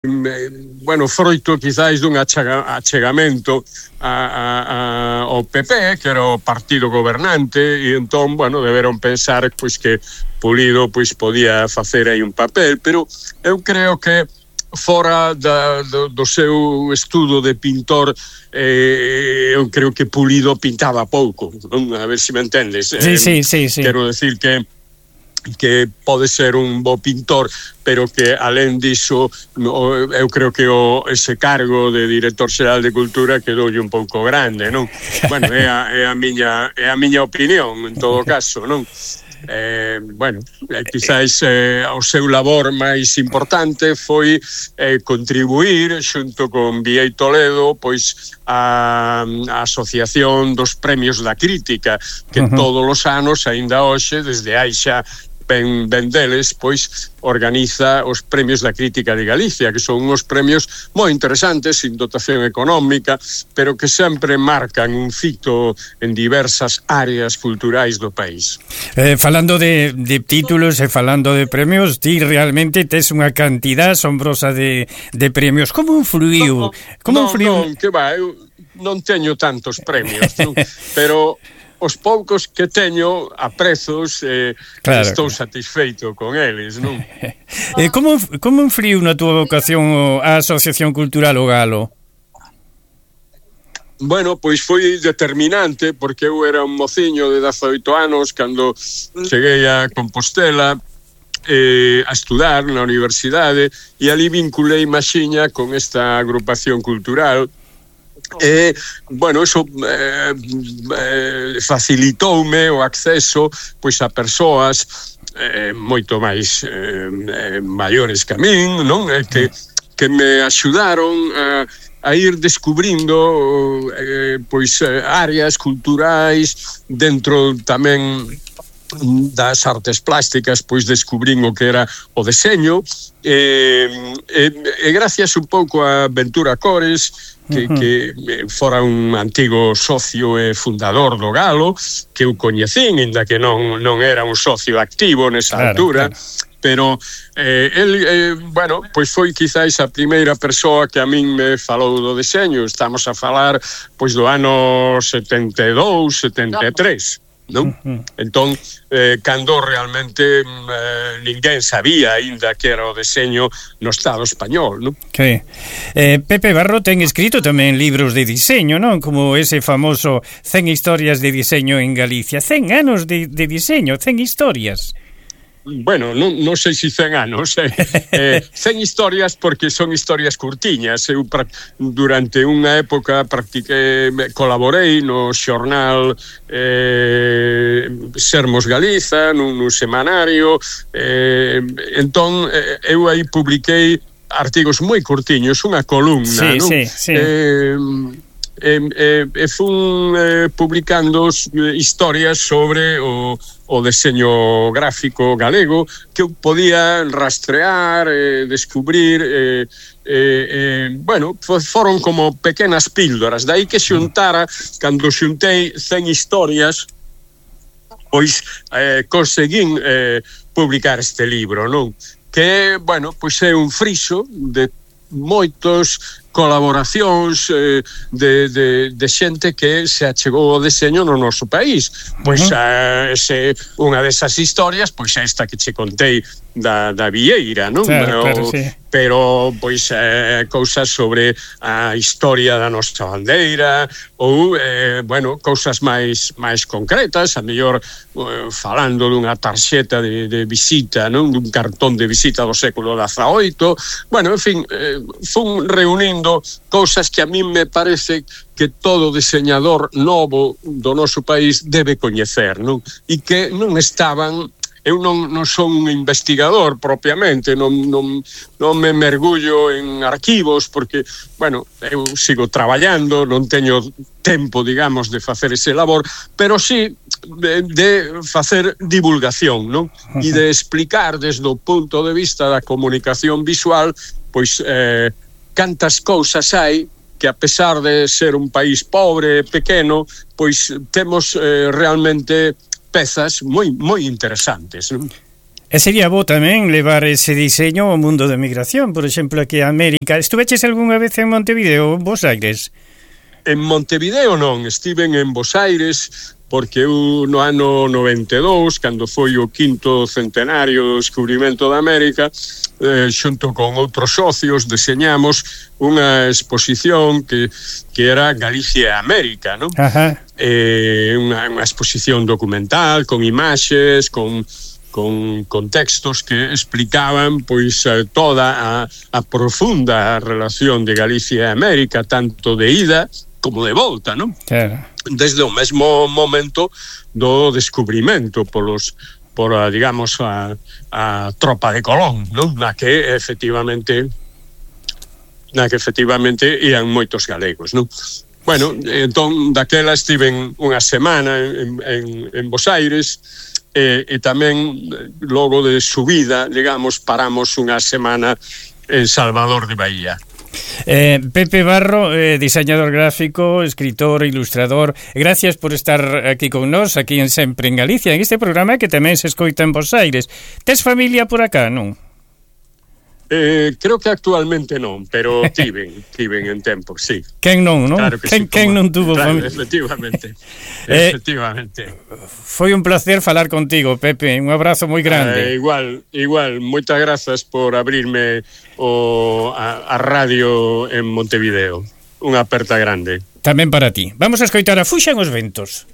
bueno, froito quizáis dun achegamento ao PP, que era o partido gobernante, e entón, bueno, deberon pensar pois que Pulido pois podía facer aí un papel, pero eu creo que fora do seu estudo de pintor, eu creo que Pulido pintaba pouco, non? A ver se me entendes. Sí. Quero decir que pode ser un bo pintor, pero que alén diso eu creo que ese cargo de director xeral de Cultura quedoulle un pouco grande, non? Bueno, é a miña opinión en todo caso, non? Bueno, quizáis o seu labor máis importante foi contribuir xunto con Viei Toledo pois a Asociación dos Premios da Crítica, que todos os anos, aínda hoxe, desde hai xa ben deles, pois organiza os Premios da Crítica de Galicia, que son uns premios moi interesantes, sin dotación económica, pero que sempre marcan un fito en diversas áreas culturais do país. Falando de títulos e falando de premios, ti realmente tes unha cantidad asombrosa de premios. Como influiu? Non, que va, eu non teño tantos premios, non? Pero os poucos que teño aprezos, claro, estou satisfeito con eles, non? Como influiu na túa vocación a Asociación Cultural O Galo? Bueno, pois foi determinante, porque eu era un mociño de 18 anos cando cheguei a Compostela a estudar na universidade, e ali vinculei maxiña con esta agrupación cultural. Bueno, eso facilitoume o acceso pois a persoas moito máis maiores que a min, non? Que me axudaron a ir descubrindo pois áreas culturais dentro tamén das artes plásticas, pois descubrín o que era o deseño, e gracias un pouco a Ventura Cores, que fora un antigo socio e fundador do Galo, que eu coñecín, inda que non era un socio activo nesa altura, pero bueno, pois foi quizáis a primeira persoa que a min me falou do deseño. Estamos a falar pois do ano 72, 73. Non? Entón, cando realmente ninguén sabía aínda que era o deseño no Estado español, non? Sí. Pepe Barro ten escrito tamén libros de diseño, non? Como ese famoso 100 historias de diseño en Galicia. 100 anos de diseño, 100 historias. Bueno, non sei se 100 anos, 100 historias, porque son historias curtiñas. Eu durante unha época colaborei no xornal Sermos Galiza, nun semanario, entón eu aí publiquei artigos moi curtiños, unha columna, non? Sí. Fun publicando historias sobre o deseño gráfico galego, que eu podía rastrear, descubrir, bueno, foron como pequenas píldoras. Dai que xuntara, cando xuntei 100 historias, pois conseguín publicar este libro, non? Que, bueno, pois é un friso de moitos colaboracións de xente que se achegou ao deseño no noso país. Pois unha desas historias, pois esta que che contei da Vieira, non? Claro, sí. Pero pois cousas sobre a historia da nosa bandeira, ou bueno, cousas máis concretas, a mellor falando dunha tarxeta de visita, non? Dun cartón de visita do século XVIII. Bueno, en fin, fun reunindo cousas que a min me parece que todo diseñador novo do noso país debe coñecer, non? E que non estaban. Eu non son un investigador propiamente, non me mergullo en arquivos, porque, bueno, eu sigo traballando, non teño tempo, digamos, de facer ese labor, pero sí de facer divulgación, non? E de explicar desde o punto de vista da comunicación visual, pois cantas cousas hai que, a pesar de ser un país pobre, pequeno, pois temos realmente pezas moi interesantes, non? E sería bo tamén levar ese diseño ao mundo da migración, por exemplo, aquí a América. Estuveches algunha vez en Montevideo ou en Bos Aires? En Montevideo non, estiven en Bos Aires porque eu no ano 92, cando foi o 5º centenario do descubrimento da América, xunto con outros socios deseñamos unha exposición que era Galicia e América, non? Unha exposición documental con imaxes, con textos que explicaban pois toda a profunda relación de Galicia e América, tanto de ida como de volta, non? Claro. Desde o mesmo momento do descubrimento por digamos, a tropa de Colón, non? Na que efectivamente ian moitos galegos, non? Bueno, entón, daquela estiven unha semana en Bos Aires, e tamén logo de subida, digamos, paramos unha semana en Salvador de Bahía. Pepe Barro, diseñador gráfico, escritor, ilustrador, gracias por estar aquí con nós, aquí en Sempre en Galicia, en este programa que tamén se escoita en Bos Aires. Tes familia por acá, non? Creo que actualmente non, pero tiven en tempo, sí. Quen non, non? Claro que sí, quen non tuvo familia? Efectivamente. Foi un placer falar contigo, Pepe, un abrazo moi grande. Igual, moitas grazas por abrirme a radio en Montevideo. Unha aperta grande. Tamén para ti. Vamos a escoitar a Fuxan os ventos.